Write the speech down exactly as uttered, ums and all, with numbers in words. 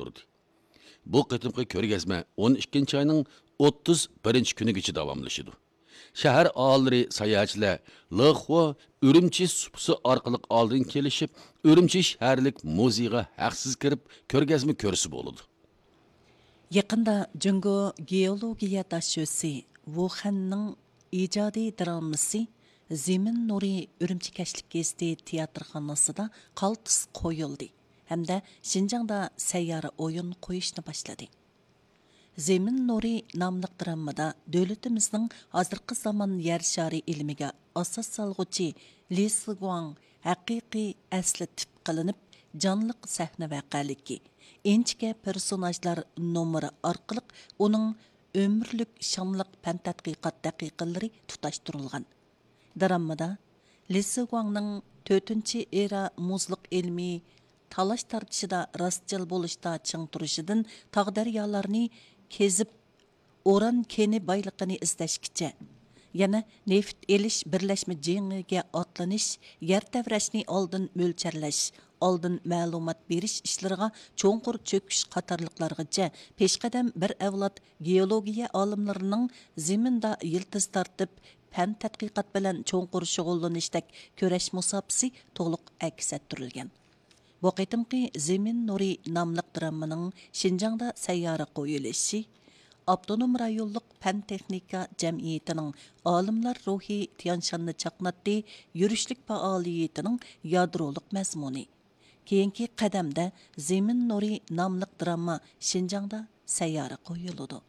ئۇردى. بۇ قېتىمقى كۆرگەزمە ئون ئىككىنچى ئاينىڭ ئوتتۇز بىرىنچى كۈنىگىچە داۋاملىشىدۇ. شەھەر ئاھالىلىرى، ساياھەتچىلەر لېخۇا ئۈرۈمچى سۇپىسى ئارقىلىق ئالدىن كېلىشىپ، ئۈرۈمچى شەھەرلىك مۇزېيغا ھەقسىز كىرىپ، كۆرگەزمە كۆرسە بولىدۇ. يېقىندا جۇڭگو گېئولوگىيە داشۆسى ۋۇخەننىڭ ئىجادىي درامىسى زېمىن نۇرى ئۈرۈمچى كەچلىك گېزىتى تىياتىرخانىسىدا قالتىس قويۇلدى ھەمدە شىنجاڭدا سەييارە ئويۇن قويۇشنى باشلىدى. زېمىن نۇرى ناملىق درامىدا دۆلىتىمىزنىڭ ھازىرقى زامان يەر شارى ئىلمىگە ئاساس سالغۇچى لى سىگۇاڭ ھەقىقىي ئەسلى تىپ قىلىنىپ، جانلىق سەھنە ۋەقەلىكى، ئىنچىكە پېرسوناژلار نومۇرى ئارقىلىق ئۇنىڭ ئۆمۈرلۈك شانلىق پەن تەتقىقات دەقىقىلىرى تۇتاشتۇرۇلغان. دراممىدا لى سىگۇاڭنىڭ تۆتىنچى ئېرا مۇزلۇق ئىلمىي تالاش تارتىشىدا راستچىل بولۇشتا چىڭ تۇرۇشىدىن تاغ دەريالارنى كېزىپ، ئۇران كېنى بايلىقىنى ئىزدەشكىچە، يەنە نېفىت ئېلىش بىرلەشمە جېڭىگە ئاتلىنىش، يەر تەۋرەشنى ئالدىن مۆلچەرلەش، ئالدىن مەلۇمات بېرىش ئىشلىرىغا چوڭقۇر چۆكۈش قاتارلىقلارغىچە پېشقەدەم بىر ئەۋلاد گېئولوگىيە ئالىملىرىنىڭ زېمىندا يىلتىز تارتىپ، پەن تەتقىقات بىلەن چوڭقۇر شۇغۇللىنىشتەك كۈرەش مۇساپىسى تولۇق ئەكس ئەتتۈرۈلگەن. بۇ قېتىمقى زېمىن نۇرى ناملىق دراممىنىڭ شىنجاڭدا سەييارە قويۇلۇشى ئاپتونوم رايونلۇق پەن تېخنىكا جەمئىيىتىنىڭ ئالىملار روھى تيانشاننى چاقناتتى يۈرۈشلۈك پائالىيىتىنىڭ يادرولۇق مەزمۇنى. كېيىنكى قەدەمدە زېمىن نۇرى ناملىق دراما شىنجاڭدا سەييارە قويۇلىدۇ.